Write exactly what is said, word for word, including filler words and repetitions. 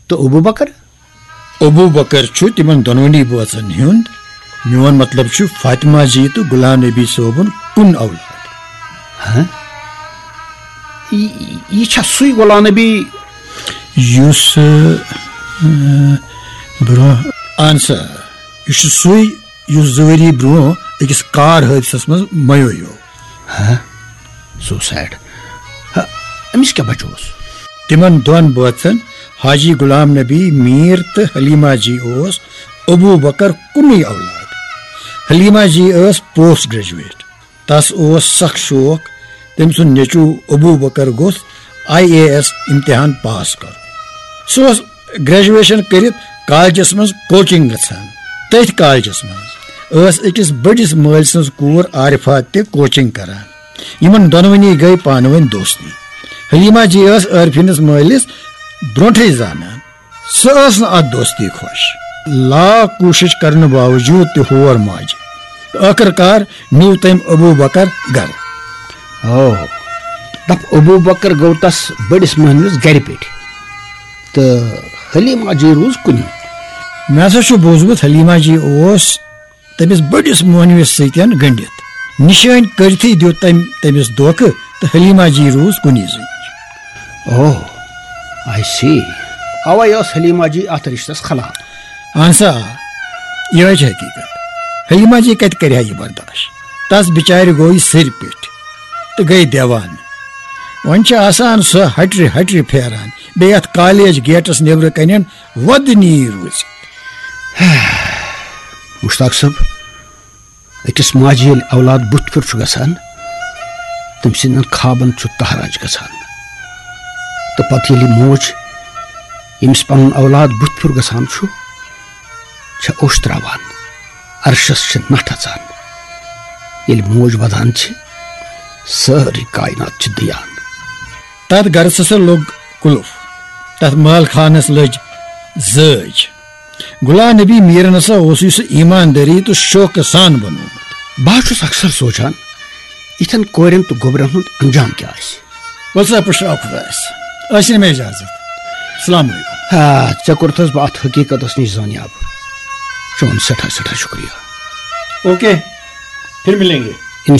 تہٕ ابو بکر؟ ابو بکر چھُ تِمن دۄنوٕنی بٲژن ہُنٛد، میون مطلب چھُ فاطمہ جی تہٕ غلام نبی صٲبُن کُن اولاد۔ ہاں؟ یہِ، یہِ چھا سُے غلام نبی؟ یُس، اۭں، برٛونٛہہ، اہن سا، یہِ چھُ سُے یُس زٕ ؤری برٛونٛہہ أکِس کار حٲدثس منٛز میویو۔ ہاں؟ So sad. ہا، أمِس کیٛاہ بچوس؟ تِمن دۄن بٲژن حاجی غلام نبی میٖر تہٕ حلیمہ جی اوس ابو بکر کُنُے اولاد۔ حلیمہ جی ٲس پوسٹ گریجویٹ۔ تس اوس سخ شوق تٔمۍ سُنٛد نیٚچو ابو بکر گوٚژھ آئی اے ایس امتحان پاس کرُن۔ سُہ اوس گریجویشن کٔرِتھ کالجس منٛز کوچنگ گژھان۔ تٔتھۍ کالجس منٛز ٲس أکِس بٔڑِس مٲلۍ سٕنٛز کوٗر عارفہ تہِ کوچنگ کران۔ یِمن دۄنوٕنی گٔے پانہٕ ؤنۍ دوستی۔ حلیمہ جی ٲس عارفینس مٲلِس برونٹھٕے زانان۔ سۄ ٲس نہٕ اتھ دوستی خۄش۔ لاکھ کوٗشش کرنہٕ باوجود تہِ ہور ماجہِ۔ ٲخٕر کار نیوٗ تٔمۍ ابو بکر گرٕ۔ او، دپ ابو بکر گوٚو تس بٔڑِس مہنوِس گرِ پٮ۪ٹھ تہٕ حلیمہ جی روٗز کُنی۔ مےٚ ہسا چھُ بوٗزمُت حلیمہ جی اوس تٔمِس بٔڑِس مہنوِس سۭتۍ گٔنٛڈِتھ۔ نِشٲنۍ کٔرِتھٕے دیُت تٔمۍ تٔمِس دھوکہٕ تہٕ حلیمہ جی روٗز کُنی زٔنۍ۔ اوہ، I see. اوے ٲس حلیمہ جی اتھ رشتس خلاف۔ اہن سا، آ، یِہوٚے چھِ حقیٖقت۔ حلیمہ جی کتہِ کرِ ہا یہِ برداش؟ تس بِچارِ گوٚو یہِ سِرِ پٮ۪ٹھ تہٕ گٔے دیوانہٕ۔ وۄنۍ چھِ آسان سۄ ہٹرِ ہٹرِ پھیران، بیٚیہِ اتھ کالج گیٹس نیبرٕ کنٮ۪ن وۄدنی روٗزِتھ۔ مشتاق صٲب، أکِس ماجہِ ییٚلہِ اولاد بُتھِ پھیُر چھُ گژھان، تٔمۍ سٕنٛدٮ۪ن خوابن چھُ تہراج گژھان۔ تہٕ پتہٕ ییٚلہِ موج، ییٚمِس پنُن اولاد بُتھِ پھیُر گژھان چھُ، چھےٚ اوٚش تراوان، عرشس چھِ نٹھ اژان۔ ییٚلہِ موج ودان چھِ، سٲرٕے کائنات چھِ دیان۔ تتھ گرس ہسا لوٚگ قلف۔ تتھ مال خانس لٔج زٲج۔ غلام نبی میٖرن ہسا اوسُے سُہ ایماندٲری تہٕ شوقہٕ سان بنوومُت۔ بہٕ حظ چھُس اکثر سونٛچان، یِتھٮ۪ن کورٮ۪ن تہٕ گوٚبرٮ۪ن ہُنٛد انجام کیٛاہ آسہِ؟ وَلہٕ سا، پُشراو خۄدایس۔ ٲسِن مےٚ اجازت۔ السلام علیکم۔ آ، ژےٚ کوٚرتھس بہٕ اتھ حقیٖقتس نِش زٲنیاب۔ چون سٮ۪ٹھاہ سٮ۪ٹھاہ شُکریہ۔ اوکے، پھر ملیں گے۔